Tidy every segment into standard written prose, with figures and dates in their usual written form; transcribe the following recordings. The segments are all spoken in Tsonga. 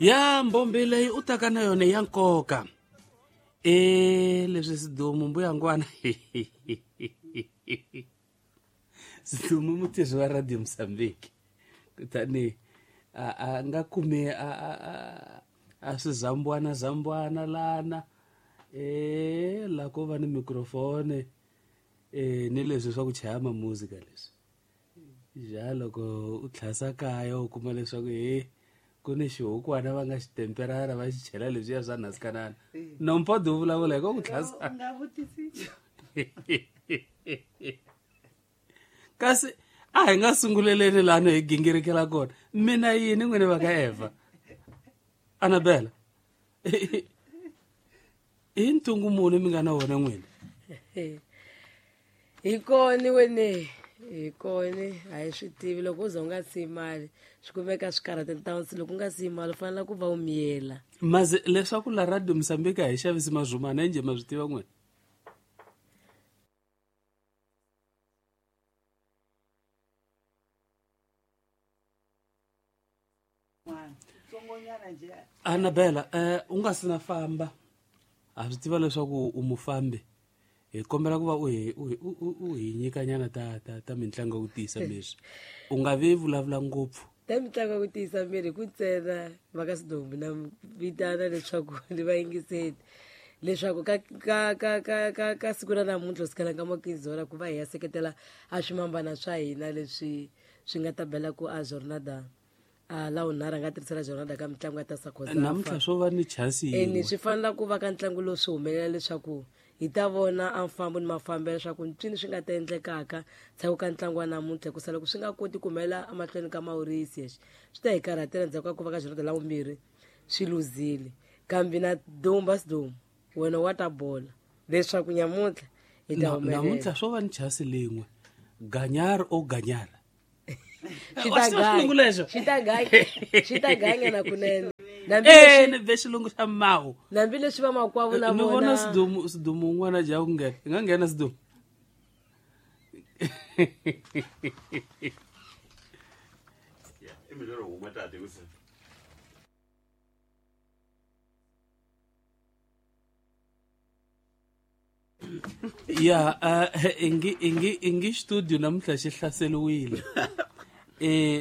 Ya mbombi leyi u taka na yona ya nkoka. E leswi Sidumu mbuyangwana. Sidumu mutirhi wa Radio Mozambique. Kutani a nga kumi a swizambwana zambwana lana. E la ko va ni microphone ni leswi swa ku chaya ma music leswi. Ja loko u tlhasa kaya u kuma leswaku he ku ni xihukwana va nga xi temperara va xi chela leswiya swa nasikanana. Nompodo u vulavula hi ko ku tlhasa. Kasi a hi nga sunguleleni lano hi gingirikela kona. Mina yini n'wini va ka Eva? Annabella. I ntungu muni mi nga na wona n'wini? Hi kona wene. Hi kona a hi swi tivi loko u za u nga siyi mali swi kumeka swi karhata ntansi loko u nga siyi mali u fanele ku va u miyela. Mazi leswaku la Radio Mozambique a hi xavisi mazumana njhe ma swi tiva n'wina? Annabella, u nga si na famba ha swi tiva leswaku u mufambi. Hi kombela ku va u hi nyikanyana ta mitlangu ya ku tiyisa miri. U nga vi vulavula ngopfu. Ta mitlangu ya ku tiyisa miri ku ntsena va ka Sidombu na vitana leswaku ni va yingiseli leswaku ka siku ra namuntlha kusukela ka makinzora ku va hi ya seketela a swimambana swa hina leswi swi nga ta bela ku a jornada. La unharhu a nga tirhisela jornada ka mitlangu ya ta Sakhozafa. Namuntlha swo va ni chance yin'we. Ene swi fanele ku va ka ntlangu lowu swi humelela leswaku hi ta vona a mfambo ni mafambelo leswaku ntswini swi nga ta endlekaka ndzhaku ka ntlangu wa namuntlha hikusa loko swi nga koti ku humelela emahlweni ka Mauritius swi ta hi karhatela ndzhaku ka ku va ka jornada la vumbirhi swi luzile. Kambe na Dumba Sidumo wena wa ta bola leswaku nyamuntlha hi ta humelela. Namuntlha swo va ni chance lin'we. Ganyar o ganyar. Xi ta ganya na kunene. Ni be xilungu xa mawu. Nambi leswi va makwavo na vona. Ni vona Sidumu un'wana dya ku nghena. I nga nghena Sidumu. Ya ingi studio namuntlha xi hlaseriwile.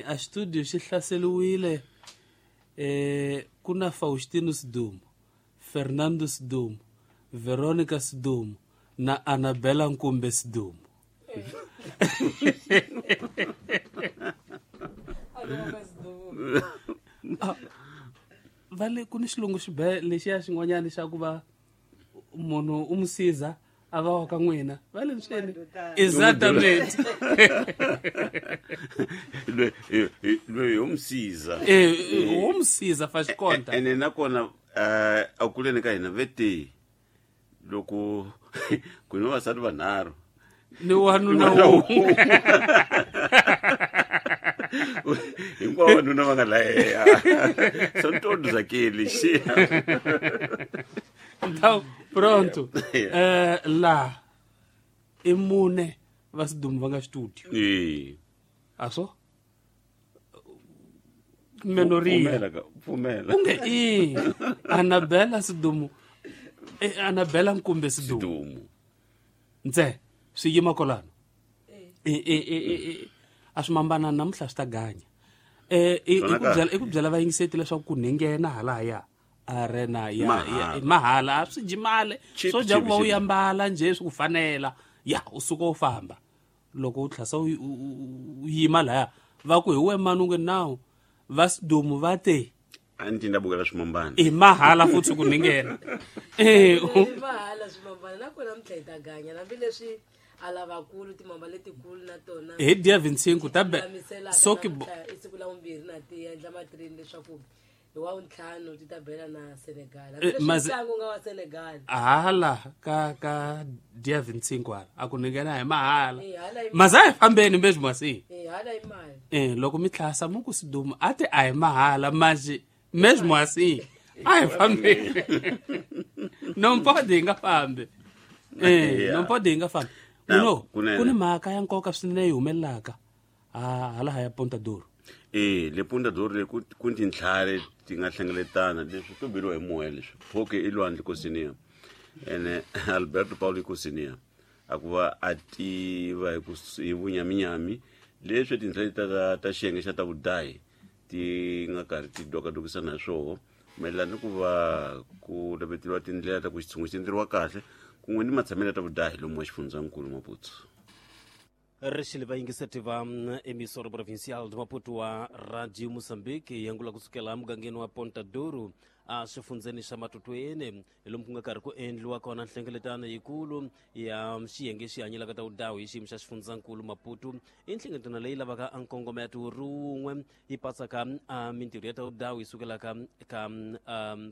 A studio xi hlaseriwile. Ku na Faustino Sidumo, Fernando Sidumo, Veronica Sidumo na Annabella Nkumbe Sidumo. Va le ku ni xilungu xibe lexiya xin'wanyana xa ku va munhu u musiza a va wa ka n'wina va le swini. Exactamente. Loyi ho musiza. Ho musiza fa xikonta. Ene nakona a kuleni ka hina vete loko ku ni vavasati vanharhu ni wanuna wun'we. Hinkwavo vanuna va nga laheya. São todos aqueles. Então, pronto. Lá i mune va Sidumo va nga studio. Aso? Menoria. Pfumela. Unge i Annabella Sidumo. Annabella Nkumbe Sidumo. Ntse swi yima kolano. A swi mambana namuntlha swi ta ganya. I ku byela vayingiseti leswaku ku nghena halaya arena ya mahala a swi jimale swo dya ku va u yambala nje swi ku fanela ya u suka u famba loko u tlhasa u yima laya va ku hi we mani u nge nawu va Sidumo va te a ni tinda bukela swimambana i mahala futhi ku nghena. Mahala swimambana nakona namuntlha hi ta ganya hambileswi a lavakulu timamba letikulu na tona hi dia 25 ta be soki i siku la vumbirhi na ti endla matrini leswaku hi wa ntlhanu ti ta bela na Senegal. Ntlangu nga wa Senegal. Hala ka dia 25 hala a ku nghena hi mahala. Maza hi fambeni mesmo assim. Hala hi mali. Loko mi tlhasa mu ku Sidumo a ti a hi mahala manje mesmo assim a hi fambeni. Não pode hi nga fambi. Não pode hi nga fambi. No, ku ni mhaka ya nkoka swinene yi humelelaka hala ya Ponta Duro. Le Ponta Douro le ku ku tintlhari ti nga hlengeletana leswi to beriwa hi moya leswi phoke i lwandle kosiniya ene Alberto Paulo kosiniya a ku va a tiva hi ku hi vunyaminyami leswi tintlhari ta ta xiyenge xa ta vudahi ti nga karhi ti dokadokisana hi swoho mayelana ni ku va ku laveteliwa tindlela ta ku xitshungu xi endleriwa kahle kun'we ni matshamelo ya ta vudahi lomu wa xifundzankulu Maputo. Rixile vayingiseti va emissora provincial de Maputo wa Radio Moçambique yangula kusukela mugangeni wa Ponta Douro a xifundzeni xa Matutweni lomu ku nga karhi ku endliwa kona nhlengeletano yikulu ya xiyenge xi hanyelaka ta vudawu hi xiyimo xa xifundzankulu Maputo. I nhlengeletano leyi lavaka a nkongometo ri wun'we yi patsaka a mintirho ya ta vudawu yi sukelaka ka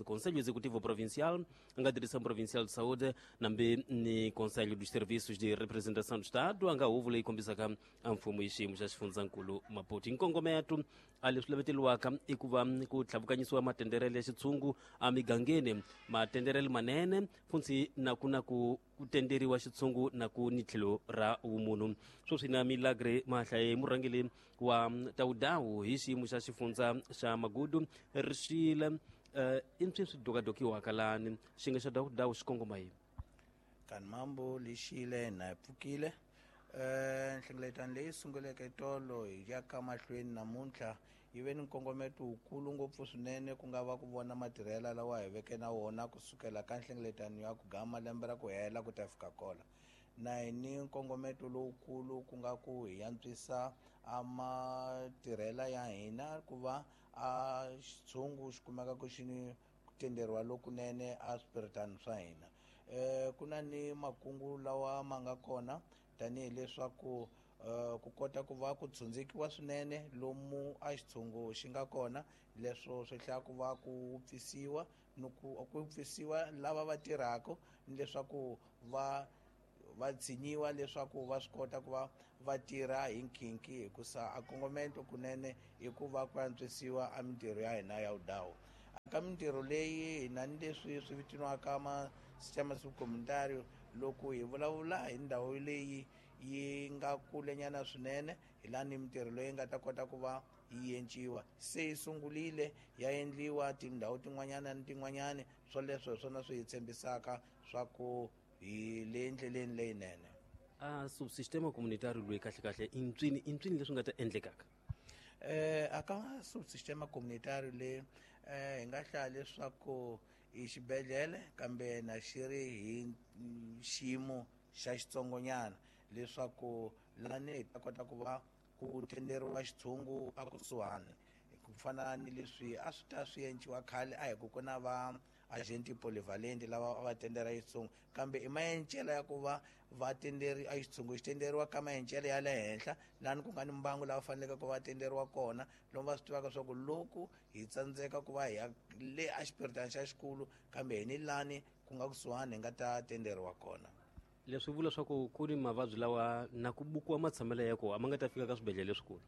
Conselho Executivo Provincial a nga Direção Provincial de Saúde nambi ni Conselho dos Serviços de Representação do Estado a nga huvo leyi kombisaka a mfumo hi xiyimo xa xifundzankulu Maputo. Nkongometo a leswi laveteliwaka i ku va ku tlhavukanyisiwa matenderele ya xitshungu emigangeni, matenderele manene funtsi na ku na ku ku tenderiwa xitshungu na ku ni tlhelo ra vumunhu. Sweswi na Milagre Mahlaye murhangeri wa tawudawu hi xiyimo xa xifundza xa Magudu Rixile, i mpswi swi dokadokiwaka lani xinge xa dawudawu xi kongoma yini? Kani mambo lexile na hi pfukile. Nhlengeletano leyi sunguleke tolo hi ya ka mahlweni namuntlha yi ve ni nkongometo wukulu ngopfu swinene, ku nga va ku vona matirhela lawa hi veke na wona kusukela ka nhlengeletano ya ku gama lembe ra ku hela ku ta fika kola. Na hi ni nkongometo lowukulu ku nga ku hi antswisa a matirhela ya hina ku va a xitshungu xi kumeka ku xi ni ku tenderiwa lokunene a swipiritani swa hina. Ku na ni makungu lawa ma nga kona tanihileswaku ku kota ku va ku tshundzikiwa swinene lomu a xitshungu xi nga kona, leswo swi hlaya ku va ku wupfisiwa ni ku ku wupfisiwa lava va tirhaka ni leswaku va va tshinyiwa leswaku va swi kota ku va va tirha hi nkhinkhi, hikusa a kongomento kunene i ku va ku antswisiwa a mintirho ya hina ya vudawu. Ka mintirho leyi hi na ni leswi swi vitaniwaka ma sistema subcomunitario. Loko hi vulavula hi ndhawu leyi yi nga kulenyana swinene, hi laha ni mintirho leyi nga ta kota ku va yi enciwa se yi sungurile ya endliwa tindhawu tin'wanyana ni tin'wanyana. Swoleswo hi swona swi hi tshembisaka swa ku hi le endleleni leyinene. A subsistema communitario loyi kahle kahle i ntswini i ntswini leswi nga ta endlekaka? A ka subsistema communitario le hi nga hlaya leswaku i xibedhlele kambe na xi ri hi xiyimo xa xitsongonyana, leswaku lani hi ta kota ku va ku tenderiwa xitshungu a kusuhani, ku fana ni leswi a swi ta swi enciwa khale. A hi ku ku na va agenti polyvalent lava a va tendera xitshungu, kambe i maencelo ya ku va va tenderi a xitshungu xi tenderiwa ka maencelo ya le henhla, lani ku nga ni mbangu lava faneleke ku va tenderiwa kona, lomu va swi tivaka swa ku loko hi tsandzeka ku va hi ya le a xipiritani xa xikulu, kambe hi ni lani ku nga kusuhani hi nga ta tenderiwa kona. Leswi vula swa ku ku ni mavabyi lawa na ku bukiwa matshamelo ya kona a ma nga ta fika ka swibedhlele leswikulu.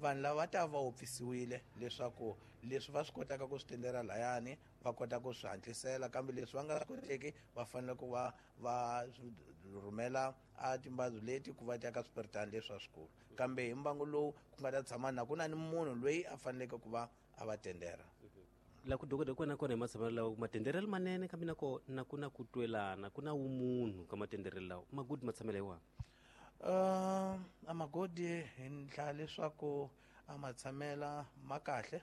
Vanhu lava va ta va wupfisiwile leswaku leswi va swi kotaka ku swi tendera layani va kota ku swi hatlisela, kambe leswi va nga swi koteki va fanele ku va va rhumela a timbabyi leti ku va ti ya ka swipiritani leswi swikulu, kambe hi mbangu lowu ku nga ta tshama na ku na ni munhu loyi a faneleke ku va a va tendera. La ku dokoda kona kona hi matshamelo lawa matenderelo manene, kambe na ko na ku na ku twelana ku na wumunhu ka matenderelo lawa magudi matshamelo hi wona. A magodi hi ndla leswaku a matshamela ma kahle.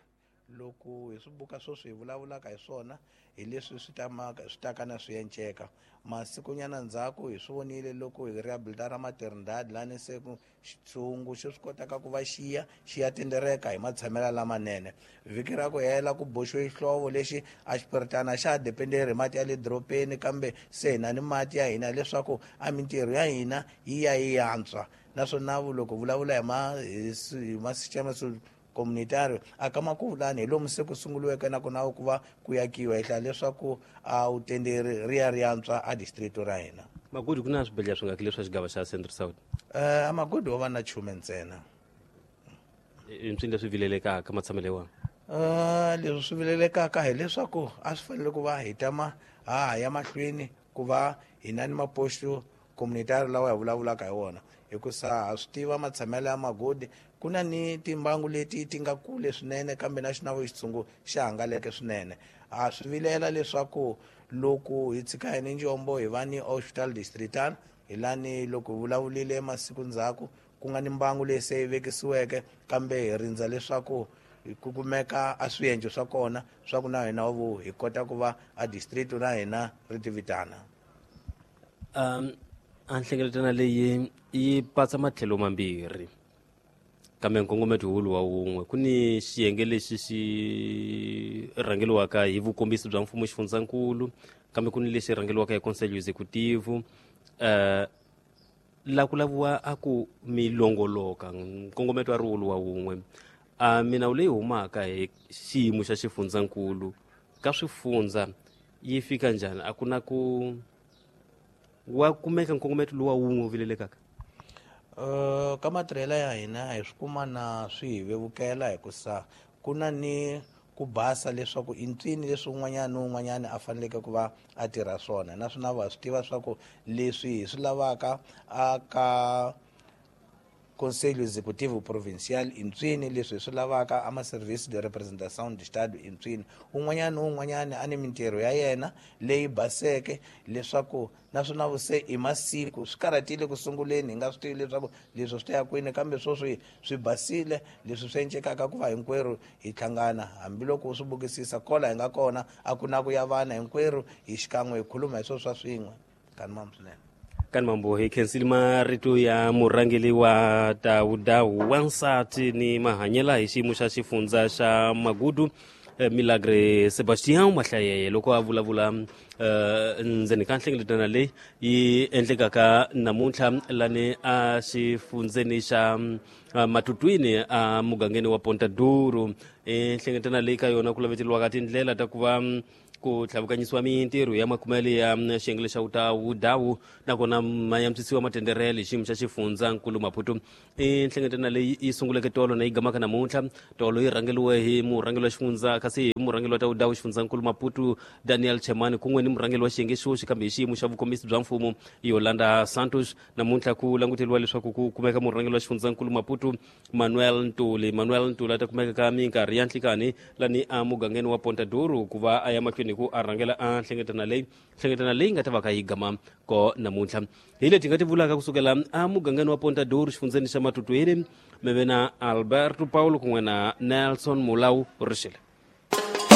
Loko hi swi buka sweswi hi vulavulaka hi swona hi leswi swi tamaka swi taka na swi enceka masikunyana ndzhaku. Hi swi vonile loko hi rehabilitara maternidad lani se ku xitshungu xi swi kotaka ku va xiya xi ya tendereka hi matshamelo lamanene. Vhiki ra ku hela ku boxiwe xihlovo lexi a xipiritana xa ha dependeri hi mati ya le dorobeni, kambe se hi na ni mati ya hina leswaku a mintirho ya hina yi ya yi antswa. Naswona loko vulavula hi ma hi ma-sistema communitario a ka makuvulani hi lomu se ku sunguriweke na ku na ku va ku yakiwa, hi hlaya leswaku a wu tenderi ri ya ri antswa a district ra hina. Magudi ku na swibedhlele swi nga leswi swa xigava xa Central South? A magudi wo va na chume ntsena. I ntswini leswi vilelekaka matshamelo ya wona? Leswi swi vilelekaka hileswaku a swi fanele ku va hi tama ha ha ya mahlweni ku va hi na ni maposto communitario lawa hi vulavulaka hi wona, hikusa ha swi tiva matshamelo ya magodi. Ku na ni timbangu leti ti nga kule swinene kambe na xinavu xitshungu xa hangaleke swinene. Ha swi vilela leswaku loko hi tshika hi ni njombo hi va ni hospital distrital, hi lani loko hi vulavulile masiku ndzhaku ku nga ni mbangu leyi se yi vekisiweke, kambe hi rindza leswaku ku kumeka a swiendlo swa kona swa ku na hina vo hi kota ku va a district na hina ri ti vitana. A nhlengeletano leyi yi patsa matlhelo mambirhi, kambe nkongometo wulu wa wun'we. Ku ni xiyenge lexi xi rhangeliwaka hi vukombisi bya mfumo xifundzankulu, kambe ku ni lexi rhangeliwaka hi Conselho Executivo. La ku laviwa a ku milongoloka, nkongometo a ri wulu wa wun'we. A minawu leyi humaka hi xiyimo xa xifundzankulu ka swifundza yi fika njhani? A ku na ku wa kumeka nkongometo lowu wa wun'we wu vilelekaka? Ka matirhelo ya hina hi swi kuma na swi hi vevukela, hikusa ku na ni ku basa leswaku i ntswini leswi un'wanyana ni un'wanyana a faneleke ku va a tirha swona. Naswona va swi tiva swa ku leswi hi swi lavaka a ka Conselho Executivo Provincial i ntswini, leswi hi swi lavaka a ma Serviço de Representação de Estado i ntswini. Un'wanyana ni un'wanyana a ni mintirho ya yena leyi baseke, leswaku naswona vuse i masiku swi karhatile ku sunguleni hi nga swi tivi leswaku leswi swi ta ya kwini, kambe sweswi swi basile leswi swi encekaka ku va hinkwerhu hi hlangana. Hambiloko u swi bukisisa kola hi nga kona, a ku na ku ya vana, hinkwerhu hi xikan'we hi khuluma hi swilo swa swin'we. Kani mamu swinene. Kani mambo, hi khensile marito ya murhangeri wa Tawudawu wansati ni mahanyela hi xiyimo xa xifundza xa Magudu, Milagre Sebastian Mahlayeye, loko a vulavula ndzeni ka nhlengeletano leyi yi endlekaka namuntlha lani a xifundzeni xa Matutwini a mugangeni wa Ponta Duro. Nhlengeletano leyi ka yona ku laveteriwaka tindlela ta ku va ku tlhavukanyisiwa mintirho ya makumele ya xiyenge xa Wutawu nakona ma yantswisiwa matenderele hi xiyimo xa xifundzankulu Maputo. I nhlengeletano leyi yi sunguleke tolo na yi gamaka namuntlha. Tolo yi rhangeriwe hi murhangeri wa xifundza, kasi hi murhangeri wa Tawudawu xifundzankulu Maputo Daniel Chemani, kun'we ni murhangeri wa xiyenge xoxi kambe hi xiyimo xa vukombisi bya mfumo Yolanda Santos. Namuntlha ku languteriwa leswaku ku kumeka murhangeri wa xifundzankulu Maputo Manuel Ntuli. Manuel Ntuli a ta kumeka ka minkarhi ya nhlikani lani a mugangeni wa Ponta Duro ku va a ya mahlweni ku a rhangela a nhlengeletano leyi, nhlengeletano leyi nga ta va ka yi gama ko namuntlha. Hi leti nga ti vulaka kusukela a mugangeni wa Ponta Duro xifundzeni xa Matutwini, mi ve na Alberto Paulo kun'we na Nelson Mulau Rixile.